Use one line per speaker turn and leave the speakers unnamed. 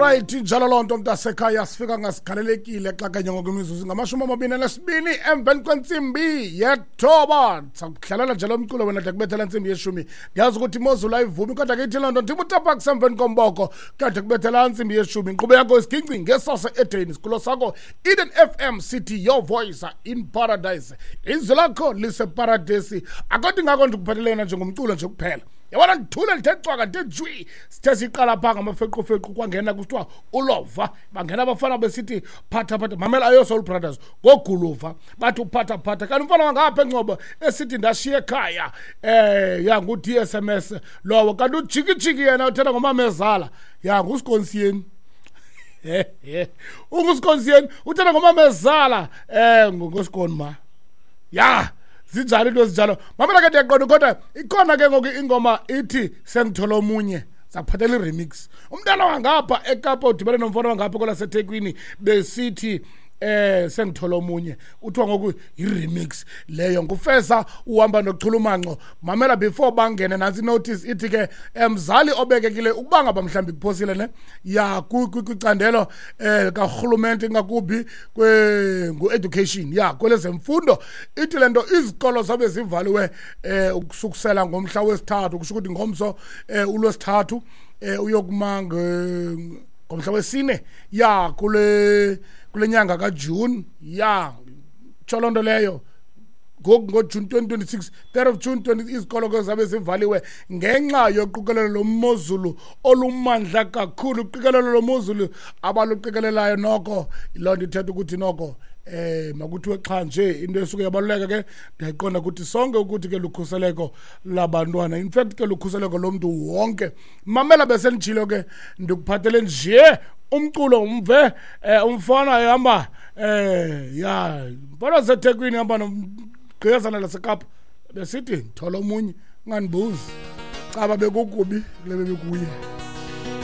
Alright, njalo loo nto mntasekhaya, sifika ngasigalelekile xa kanye ngoku imizuzu ngama-22 emveni kwentsimbi yethoba. Sakudlalela nje lo mculo wena de kubethela ntsimbi yeshumi. Ndiyazi ukuthi imozulu ayivumi, kodwa ke ithi loo nto ndim utapak semveni komboko kade kubethela ntsimbi yeshumi. Inkqubo yakho isiginci ngesase edeni, sikulo sakho Eden FM City, your voice in paradise. Izwi lakho liseparadesi. Akodwa ingako ndikuphathele yona njengomculo nje kuphela. Yabona, ndithule ndithe cwaka, ndithe jwi. Sithe siqala phaa ngamafequfequ, kwangena kusithiwa ulova, bangena abafana besithi phatha phatha. Mamela, ayo Soul Brothers ngoguluva, bathi uphatha phatha. Kanti umfana wangapha eNgcobo esithi ndashiya ekhaya, ya ngu-D S M S lowo. Kanti ujikijiki yena uthetha ngomamezala, ya ngusikonsiyeni, ungusikonsiyeni uthetha ngomamezala, ngosikoni ma ya zinjalo into ezinjalo. Mamela ke, ndiyaqonda, kodwa ikhona ke ngoku ingoma ithi sengithola omunye, zaphathela i-remix. Umntana wangapha eKapa udibene nomfana wangapha kwelaseThekwini besithi sengithola omunye, uthiwa ngoku i-remix leyo ngufeza uhamba nochulumanco. Mamela, before bangene, nantsi notice ithi ke, mzali obekekile, ukuba ngaba mhlawumbi kuphosile ne ya kwicandelo karhulumente, ingakumbi ngu-education, ya kwelezemfundo, ithi le nto izikolo zabe zivaliwe ukusukusela ngomhla wesithathu, kusho ukuthi ngomso, ulwesithathu, uyokuma ngomhla wesine ya kule nyanga kaJune. Ya tsho loo nto leyo ngoku ngoJune 2026, 3rd of June 20, izikolo ke zabe zivaliwe ngenxa yoqikelelo lomozulu olumandla kakhulu. Uqikelelo lomozulu abaluqikelelayo noko, loo nto ithetha ukuthi noko makuthiwe xa nje into esuke yabaluleka ke, ndiyayiqonda ukuthi sonke ukuthi ke lukhuseleko labantwana, in fact ke lukhuseleko lomntu wonke. Mamela, besenditshilo ke, ndikuphathele nje umculo umve umfana ehamba, ya mfana waseThekwini hamba nomgqiyazana laseKapa besithi thola omunye. Ungandibuzi caba bekukubi kule bebekuye.